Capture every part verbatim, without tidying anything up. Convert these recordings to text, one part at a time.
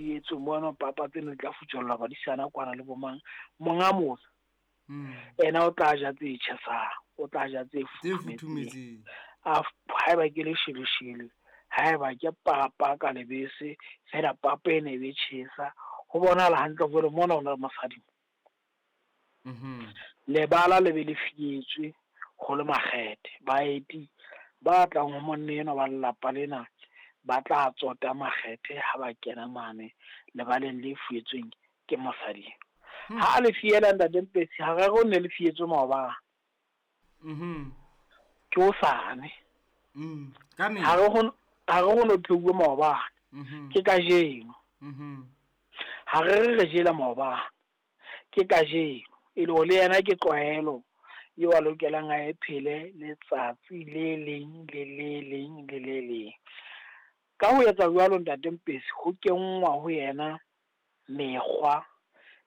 fietswe mono, papa tseno di tla futswellwa badisana kwana le bomang. Monga motse ena o tla ja tse tjhesang, o tla ja tse futhumetseng. A haeba ke lesheleshele, haeba ke papa ka lebese, fela papa ene e be tjhesa. Ho bonahala hantle jwale mona ho na le mosadi. Lebala le be le fietswe ho le makgethe. Baeti ba tlang ho monna enwa ba lelapa lena ba tla tsota makgethe ha ba kena mane lebaleng le fietsweng ke mosadi. Ha le fiela ntate Mpetsi, ha re ne le fietswe maobane. Mhm. Ke hosane. Mm. Ka Ha re ho ha re ho no pheuwe maobane. Mhm. Ke kajeno. Mhm. Ha re re re jela maobane. Ke kajeno. E le hore le yena ke tlwaelo eo a lokelang a e phele letsatsi le leng le le leng le le leng. Ka ho etsa jwalo ntate Mpetsi, ho kenngwa ho yena mekgwa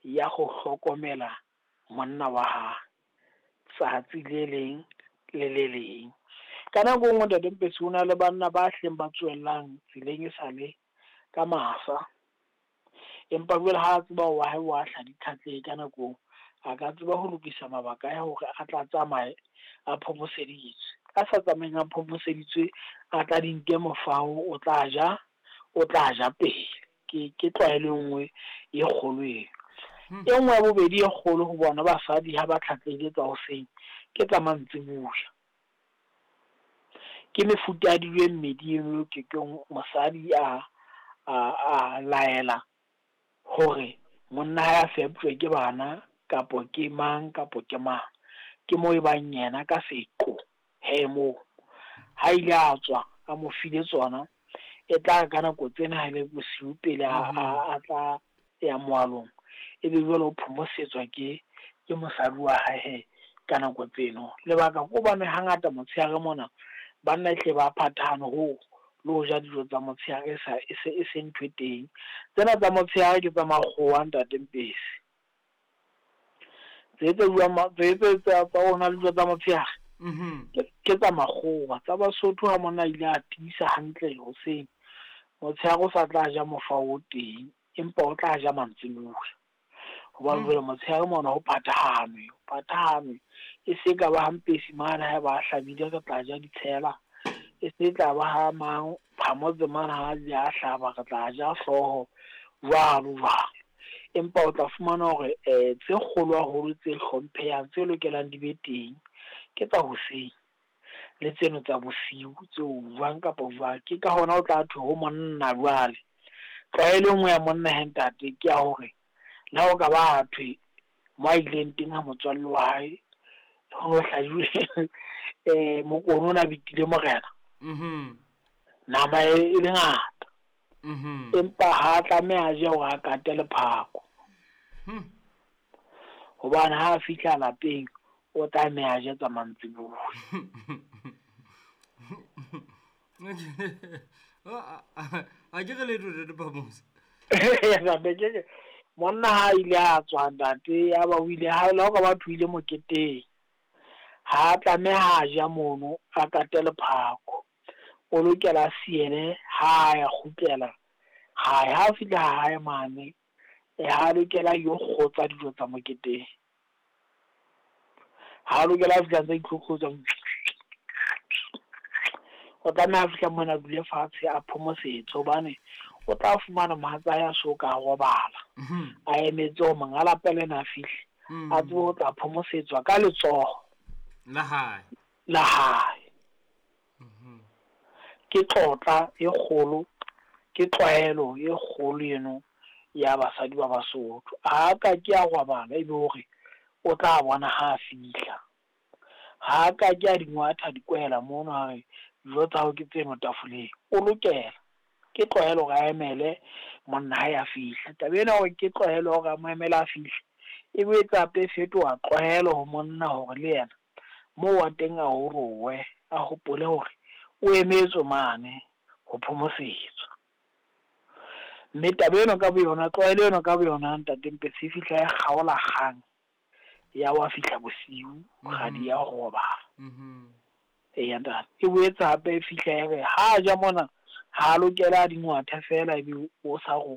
ya ho hlokomela monna wa hae tsatsi le leng le le leng. Ka nako e nngwe ntate Mpetsi, ho na le banna ba hleng ba tswellang tseleng e sale ka masa. Empa jwale ha a tseba wa hae wa hla ditlhatleng ka nako, a ka tseba ho lokisa mabaka a hore a tla tsamaye a phomoseditswe. A sa tsamayeng a phomoseditswe, a tla di nke mofao, o tla ja, o tla ja pele. Ke ke tlwaelo e nngwe e kgolo eo. E nngwe ya bobedi e kgolo ho bona basadi ha ba tlhatlehile tsa hoseng ke tsa mantsiboya. Ke mefuta ya dijo e mmedi eno ke ke mosadi a a a laela hore monna hae a feptjwe ke bana kapo ke mang kapo ke mang. Ke moo e bang yena ka seqo he moo. Ha ile a tswa a mo file tsona, e tla ka nako tsena ha le bosiu pele a a tla ya moalong, e be jwale o phomosetswa ke ke mosadi wa hae he ka nako tseno. Lebaka ke hobane hangata motshehare mona banna e hle ba phathahane ho le ho ja dijo tsa motshehare e sa e se e se ntho e teng. Tsena tsa motshehare ke tsa makgowa ntate Mpetsi. Tse tse buang tse tse tsa tsa rona dijo tsa motshehare Mhm. ke ke tsa makgowa. Tsa Basotho ha monna a ile a tiisa hantle hoseng, motshehare o sa tla ja mofao o teng, empa o tla ja mantsiboya. Hobane jwale motshehare mona ho phathahanwe, ho phathahanwe. E se ka ba ha Mpetsi mane ha ba hlabile re tla ja ditshela. E se tla ba ha mang Phamotse mane ha a a hlaba re tla ja hlooho jwalo jwalo. Empa o tla fumana hore eh tse kgolo haholo tse hlomphehang tse lokelang di be teng ke tsa hoseng le tseno tsa bosiu tseo jwang kapa jwang. Ke ka hona o tla thwe ho monna jwale. Tlwaelo e nngwe ya monna he ntate ke ya hore le ha o ka ba thwe mo a ileng teng ha motswalle wa hae ho no hlajuwe eh mokone ona bitile morena. Mhm. Nama e le ngata. Mhm. Empa ha tlameha a je hore a kate lephako. Hmm. Hobane ha a fihla lapeng o tlameha a je tsa mantsiboya. A ke re letho ntate Phamotse. Ntate ke monna ha ile a tswa ntate ya ba o ile ha le ka batho ile moketeng. Ha tlameha a ja mono a kate lephako. O lokela a siele ha ya kgutlela hae. Ha fihla hae mane, e ha lokela yo kgotsa dijo tsa moketeng. Ha lokela a fihla ntse itlhotlhotsa. O tlameha a fihla mona a dule fatshe a phomosetse hobane o tla fumana mohatsa hae a so ka robala. Mhm. A emetse hore monga lapa lena a fihle. Mm. A tsebe ho tla phomosetswa ka letsoho La hae. la hae. Mhm. Ke tlotla e kgolo, ke tlwaelo e kgolo eno ya basadi ba Basotho. Ha ka ke a robala ebe hore o tla bona ha a fihla. Ha ka ke a di ngwatha dikwela mono a re dijo tsa hao ke tseno tafoleng. O lokela ke tlwaelo hore a emele monna hae a fihla. Taba ena hore ke tlwaelo hore a mo emele a fihle, e boetse hape e fetoha tlwaelo ho monna hore le yena moo wa teng a orowe, a hopole hore o emetswe mane ho phomosetswa. Mme taba eno ka boyona, tlwaelo eno ka boyona ntate Mpetsi e fihla e kgaola kgang ya wa fihla bosiu kgadi ya robala. Mhm. Eya ntate. E boetse hape e fihla e re ha ja mona ha lokela a dingwathe fela ebe o sa ro